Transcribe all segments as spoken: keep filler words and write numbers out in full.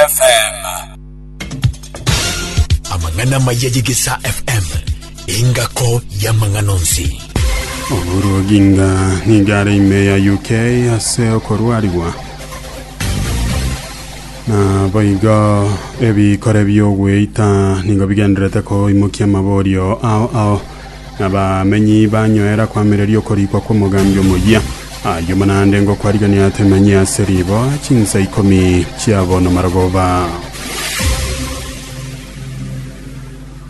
F M. Amang'ana amaya y'Egesa F M, engako y'amang'ana onsi. Oburu Oginga nigo are ime ya U K ase okorwarigwa na boigo ebikore bi'ogweita nigo bigenderete koimokia amaborio ao ao nabamenyi banyoera kwamereria okorikwa kw'omogambi omoyia ayio manande ngokwarigania atemanyi ase ribo chinsa ikomi chiabono marogoba.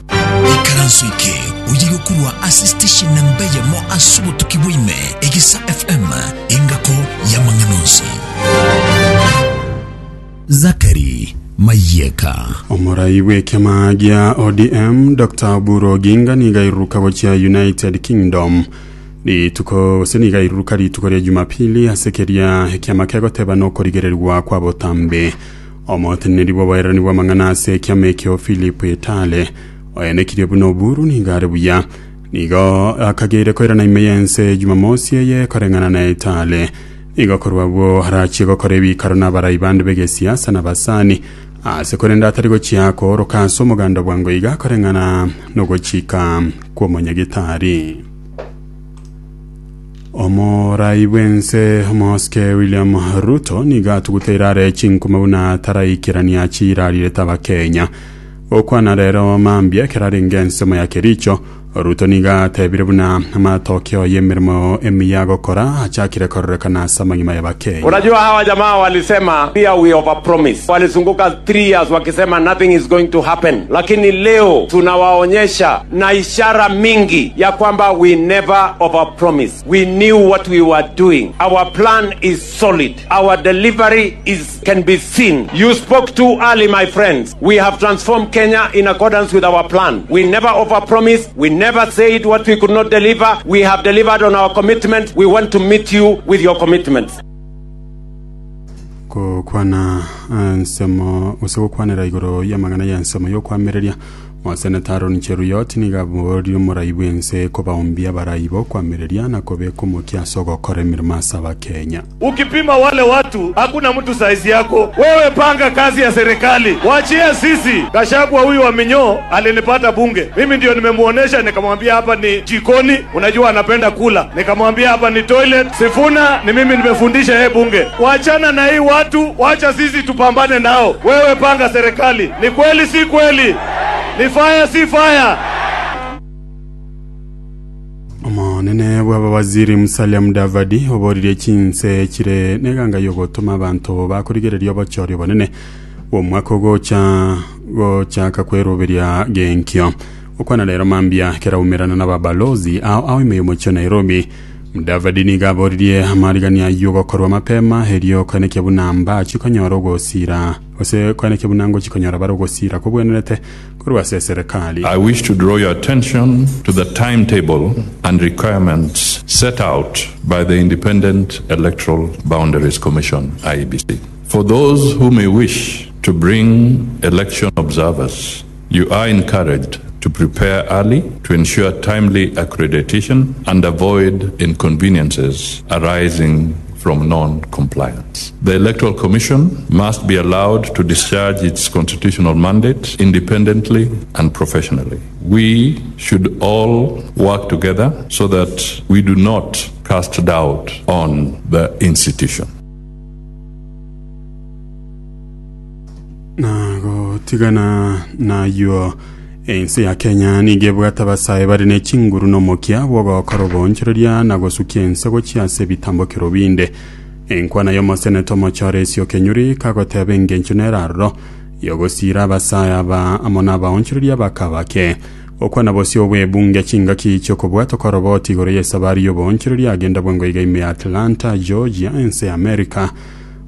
Ikaranso eke oyire korwa ase station namba eyemo ase obotuki bwaime, Egesa F M, engako y'amang'ana onsi. Zakari Mayeka. Omorai bw'ekiama gia O D M Doctor Oburu Oginga niga airuruka gochia United Kingdom rituko gose niga airuruka rituko ria Jumapili ase keria ekiama kegoteba nokorigererwa kwa botambe. Omoteneneri bw'oboererani bw'amang'ana ase ekiama ekio Philip Etale oenekirie buna Oburu niga are buya nigo akageire koirana ime y'ense Jumamosi eye. Koreng'ana na Etale, nigo korwa abwo arachie gokora ebikaro n'abarai bande b'egesiasa na basani ase korenda atari gochia kooroka ase omoganda bwango iga koreng'ana nogochika kw'omonyagitari. Omorai bwense omosike William Ruto nigo atuguteire are chinkuma buna taraikerania chirarire abakenya. Gokwana rero mambia ekero arenge ensemo ya Kericho, Ruto nigo atebire buna amatokeo y'emirimo emiya agokora achakire kororekana ase amang'ima y'abakenya. Unajua hawa jamaa walisema pia we overpromise. Walizunguka three years wakisema nothing is going to happen, lakini leo tunawaonyesha na ishara mingi ya kwamba we never overpromise. We knew what we were doing. Our plan is solid. Our delivery is can be seen. You spoke too early, my friends. We have transformed Kenya in accordance with our plan. We never overpromise. We never said what we could not deliver. We have delivered on our commitment. We want to meet you with your commitments. Gokwana ensemo gose gokwanera igoro y'amang'ana ya ensemo yokwamireria, moseneta Aaron Cheruiyot nigo aborie omorai bwense kobaombia abarai bokwamireria na kobeka omokia ase ogokora emirimo ase abakenya. Ukipima wale watu, hakuna mtu saizi yako. Wewe panga kazi ya serikali, wachia sisi. Gachagua huyu wa minyoo alinipata bunge, mimi ndio nimemuonesha, nikamwambia hapa ni jikoni, unajua anapenda kula, nikamwambia hapa ni toilet. Sifuna ni mimi nimefundisha yeye bunge. Wachana na hii watu, wacha sisi tupambane nao. Wewe panga serikali. Ni kweli si kweli? Ni fire si fire? Omonene bw'abawaziri Musalia Mudavadi oboririe chinse chire neganga yogotoma abanto bakorigereria obochori obonene bw'omwaka ogocha gochaka kweroberia genkio. Okwana rero mambia keraumerana n'ababalozi ao ao ime y'omochio Nairobi, Mudavadi nigo aboririe amarigania aywo gokorwa mapema erio koenekia buna mbachi konyora ogosira gose koenekia buna ngochi konyora bare ogosira kobwenerete korwa ase eserekali. I wish to draw your attention to the timetable and requirements set out by the Independent Electoral Boundaries Commission, I E B C. For those who may wish to bring election observers, you are encouraged to prepare early to ensure timely accreditation and avoid inconveniences arising from non compliance. The Electoral Commission must be allowed to discharge its constitutional mandate independently and professionally. We should all work together so that we do not cast doubt on the institution. Na gotigana nayo, ense ya Kenya nigo ebwate abasae bare ne chinguru nomokia bwogokora obonchereria na gosukia ense gochia ase ebitambokero binde. Enkwana y'omoseneta omochore Esio Kenyuri kagoteba engencho neraroro yogosira abasae aba amo na abaonchereria bakabake. Okwana bosio bw'ebunge chingaki chiokobwata koroboti igoro y'esabari y'obonchereria agenda bwango iga ime ya Atlanta, Georgia, ense ya America,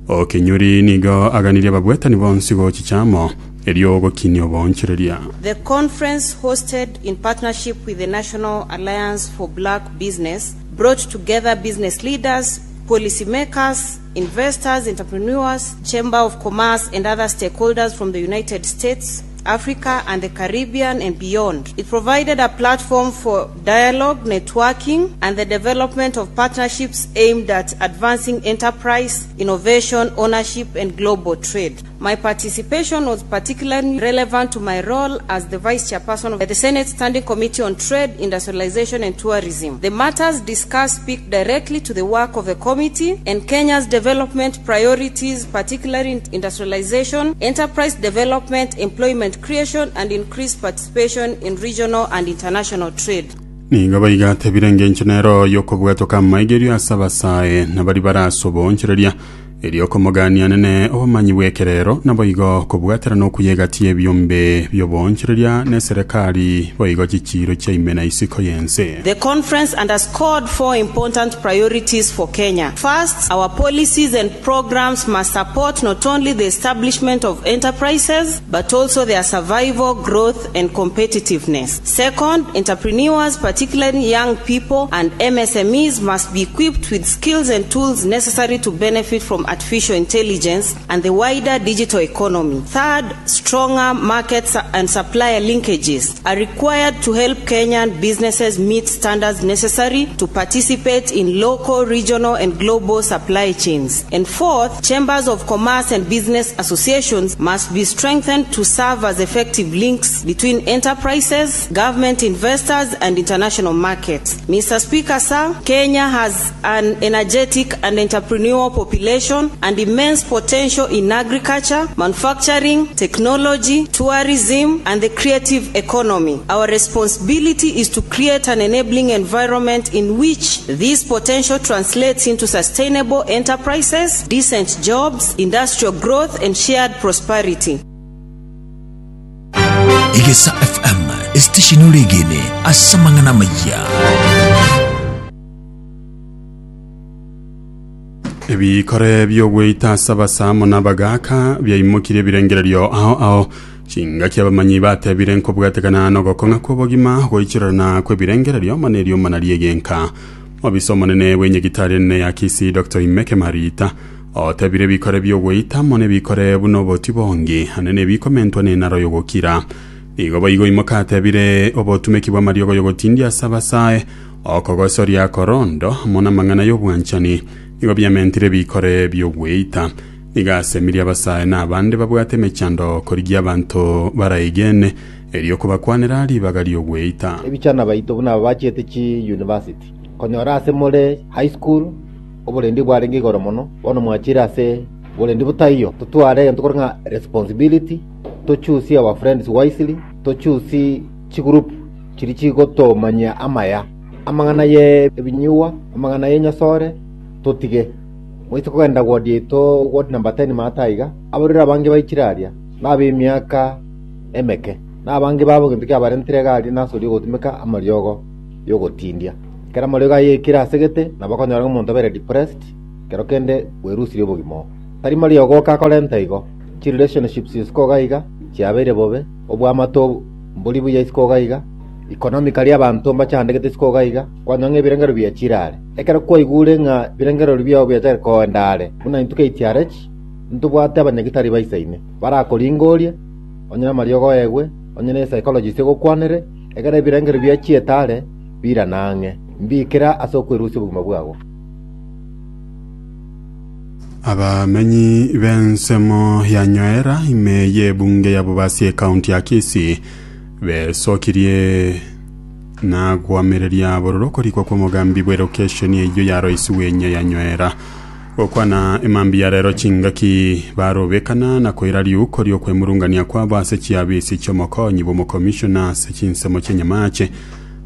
Okenyuri nigo aganirie ababwatani bonsi gochichamo erio gokinia obonchereria. The conference, hosted in partnership with the National Alliance for Black Business, brought together business leaders, policymakers, investors, entrepreneurs, Chamber of Commerce, and other stakeholders from the United States, Africa, and the Caribbean and beyond. It provided a platform for dialogue, networking, and the development of partnerships aimed at advancing enterprise, innovation, ownership, and global trade. My participation was particularly relevant to my role as the Vice Chairperson of the Senate Standing Committee on Trade, Industrialization and Tourism. The matters discussed speak directly to the work of the committee and Kenya's development priorities, particularly in industrialization, enterprise development, employment creation, and increased participation in regional and international trade. Nigo baigatebire ngencho nero yokobwatoka maigerio ase abasae nabari barasobonchereria eriokomogania nene obomanyi bw'ekerero naboigo kobwatera nokuyegatia ebyombe byobonchereria ne serikali boigo chichiro chiaime isiko yense. The conference underscored four important priorities for Kenya. First, our policies and programs must support not only the establishment of enterprises, but also their survival, growth, and competitiveness. Second, entrepreneurs, particularly young people and M S M Es, must be equipped with skills and tools necessary to benefit from artificial intelligence and the wider digital economy. Third, stronger markets and supplier linkages are required to help Kenyan businesses meet standards necessary to participate in local, regional, and global supply chains. And fourth, chambers of commerce and business associations must be strengthened to serve as effective links between enterprises, government investors, and international markets. Mister Speaker, sir, Kenya has an energetic and entrepreneurial population and immense potential in agriculture, manufacturing, technology, tourism, and the creative economy. Our responsibility is to create an enabling environment in which this potential translates into sustainable enterprises, decent jobs, industrial growth, and shared prosperity. Egesa F M, station regene, asamangana maya. Ebikore byogweita sabasamo n'abagaka byaimukire birengererio aho aho chinga kyabamanyi batebire nkobwatekana nogokonga kwobogima goichirana kwebirengererio manerio manariegenka obisomo nene wenyegitari nene ya Kisii Doctor Imeke Marita otebire bikore byogweita mone bikore buno botibongi anene bikomentwa nenaro yogokira igo boigo imokatebire obotumeki bwa mariogo yogotindia sabasae okogosoria korondo mona mang'ana y'obwanchani igo byamentire bikore byogweita nigasemiria abasae n'abande babwate emechando korigia abantu baraigene erio kubakwanera ribaga ry'ogweita. Ebichana baito buna bachiete chi university konyora ase more high school oborendi bwarenge igoro mono bono mwachira ase borendi butaiyo totware ntukorenga responsibility to choose our friends wisely to choose chi group chiri chigotomanya amaya amang'ana ye ebinyuwa amang'ana ye nyasore totige mwise kogenda ward yeto ward number ten mataiga abarira abange baichiraria nabe emiaka emeke nabange babo kintu kiabarentire gari nasori gotumeka amariogo yogotindia kera amariogo ayekire asegete nabakonyora omonto abere depressed kero kende bwerusire obogima tari mariogo kakorenta igo chi relationships isiko iga chiabeire bobe obwamato mbori buya isiko iga economically abantu mbachandegete isiko iga kwanywa ebirengero biachirare ekero kwaigure ng'a birengero biao biachare koendare buna intu K T R H ntubwate abanyagitari baisaine barakoringoria onye mariogo egwe onye ne psychologist egokwanere ekero ebirengero biachietare biranang'e mbikira ase okwerusia obogima bwago. Abamenyi b'ensemo ya Nyoera ime y'ebunge ya Bobasi ekaunti ya Kisii besokirie na gwamereria bororo rikwa kwa mugambi bwe location eyo ya Royce wenye ya Nyoera gokwana emambi ya rero chingaki barobekana na koira riuko ryo kwemurungania kwa base chiabisi chomokonyi bo commissioner se chinsemo chenyamache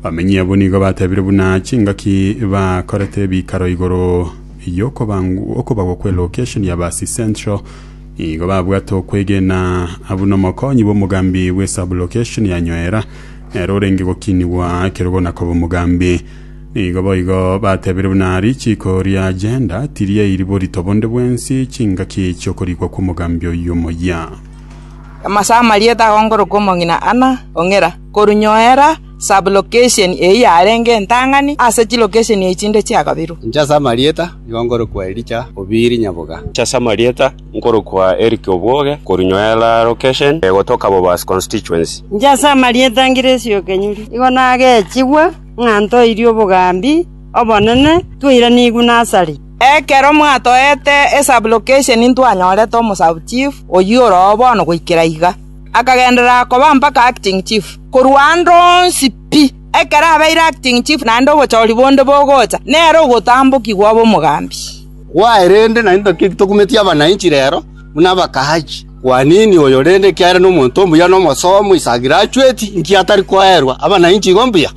bamenyi abo nigo batebire buna chingaki bakorete bikaro igoro yoko bangu okobagwa kwe location ya Basi Central igo babwato kwegena abuno mokonyi bo mugambi we sub location ya Nyoera ero renge gokiniwa kerogo nakobo mugambi nigo boigo batebire buna richiko ria agenda tirie iribori tobonde bwensi chingaki chokorikwa ku mugambi oyo moya amasama rieta gongoro komongina ana ongera korunyoera sub location e yarenge ntangani ase chi location e chinde chiakabiru ncha marieta ngoro kwa Elicha Obiri Nyaboga ncha marieta ngoro kwa Eric Oboge korunyoera location gotoka Bobas constituency ncha marieta ngiresio kenyuri igo nage chigwa ng'anto irio bogambi obonene tuira nigu nasari Ekero mwatoete esublocation ntwanyorete omosabu chief oyio oro bono goikera iga akagenderera koba mpaka acting chief korwa ndonsi pi ekero abeire acting chief naende obochori bonde bogocha nere ogotambokigwa obe omogambi. Gwaerende naende tokumetia abananchi rero buna abakahachi kwa nini oyo rende kiare nomonto omuya nomosomo isa graduate nki atari koerwa abananchi igo mbuya.